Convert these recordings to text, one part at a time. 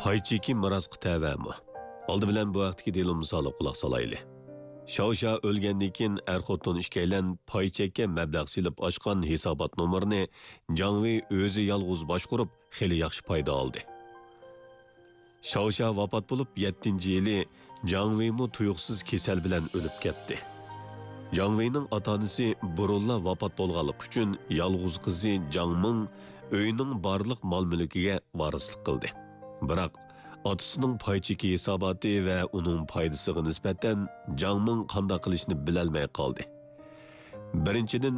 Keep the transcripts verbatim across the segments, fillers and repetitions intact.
پاي چېكى مىراسقا تەۋەمۇ؟ ئالدى بىلەن بۇ ھەقتىكى دېلو مىسالىغا قۇلاق سالايلى. شاۋشا ئۆلگەندىن كېيىن ئەر-خوتۇن ئىككىيلەن پاي چەككە مەبلەغ سېلىپ ئاچقان ھېسابات نومۇرىنى جاڭ ۋېي ئۆزى يالغۇز باشقۇرۇپ، خېلى ياخشى پايدا ئالدى. شاۋشا ۋاپات بولۇپ يەتتىنچى يىلى جاڭ ۋېيمۇ تۇيۇقسىز كېسەل بىلەن ئۆلۈپ كەتتى. جاڭ ۋېينىڭ ئاتا-ئانىسى بۇرۇنلا ۋاپات بولغانلىقى ئۈچۈن يالغۇز قىزى جاڭ مىڭ ئۆينىڭ بارلىق مال-مۈلكىگە ۋارىسلىق قىلدى. بىراق، ئاتىسىنىڭ پاي چېكى ھېساباتى ۋە ئۇنىڭ پايدىسىغا نىسبەتەن جاڭ مىڭ قانداق قىلىشنى بىلەلمەي قالدى. بىرىنچىدىن،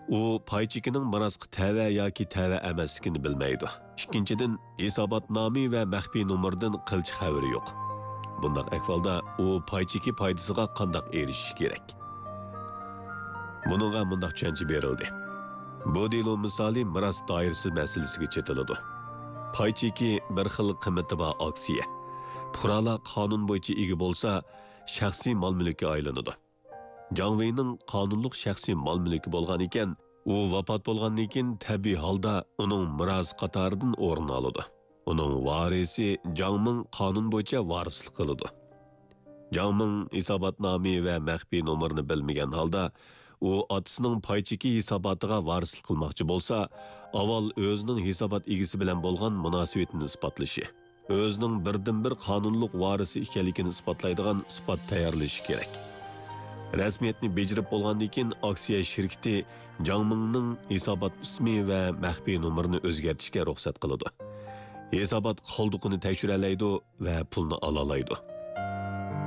ئۇ پاي چېكىنىڭ مىراسقا تەۋە ياكى تەۋە ئەمەسلىكىنى بىلمەيدۇ. ئىككىنچىدىن، ھېساباتنامە ۋە مەخپىي نومۇردىن قىلچە خەۋىرى يوق. بۇنداق ئەھۋالدا ئۇ پاي چېكى پايدىسىغا قانداق ئېرىشىشى كېرەك؟ بۇنىڭغا مۇنداق چۈشەنچە بېرىلدى. بۇ دېلو مىسالى مىراس دائىرىسى مەسىلىسىگە چېتىلىدۇ. پاي چېكى بىر خىل قىممىتى بار ئاكسىيە. پۇقرالار قانۇن بويىچە ئىگە بولسا، شەخسىي مال-مۈلۈككە ئايلىنىدۇ. جاڭ ۋېينىڭ قانۇنلۇق شەخسىي مال-مۈلكى بولغان ئىكەن، ئۇ ۋاپات بولغاندىن كېيىن تەبىئىي ھالدا ئۇنىڭ مىراسى قاتارىدىن ئورۇن ئالىدۇ. ئۇنىڭ ۋارىسى جاڭ مىڭ قانۇن بويىچە ۋارىسلىق قىلىدۇ. جاڭ مىڭ ھېساباتنامە ۋە مەخپىي نومۇرنى بىلمىگەن ھالدا، ئۇ ئاتىسىنىڭ پاي چېكى ھېساباتىغا ۋارىسلىق قىلماقچى بولسا، ئاۋۋال ئۆزىنىڭ ھېسابات ئىگىسى بىلەن بولغان مۇناسىۋىتىنى ئىسپاتلىشى، ئۆزىنىڭ بىردىنبىر قانۇنلۇق ۋارىسى ئىكەنلىكىنى ئىسپاتلايدىغان ئىسپات تەييارلىشى كېرەك. رەسمىيەتنى بېجىرىپ بولغاندىن كېيىن، ئاكسىيە شىركىتى جاڭ مىڭنىڭ ھېسابات ئىسمى ۋە مەخپىي نومۇرىنى ئۆزگەرتىشكە رۇخسەت قىلىدۇ. ھېسابات قالدۇقىنى تەكشۈرەلەيدۇ ۋە پۇلنى ئالالايدۇ.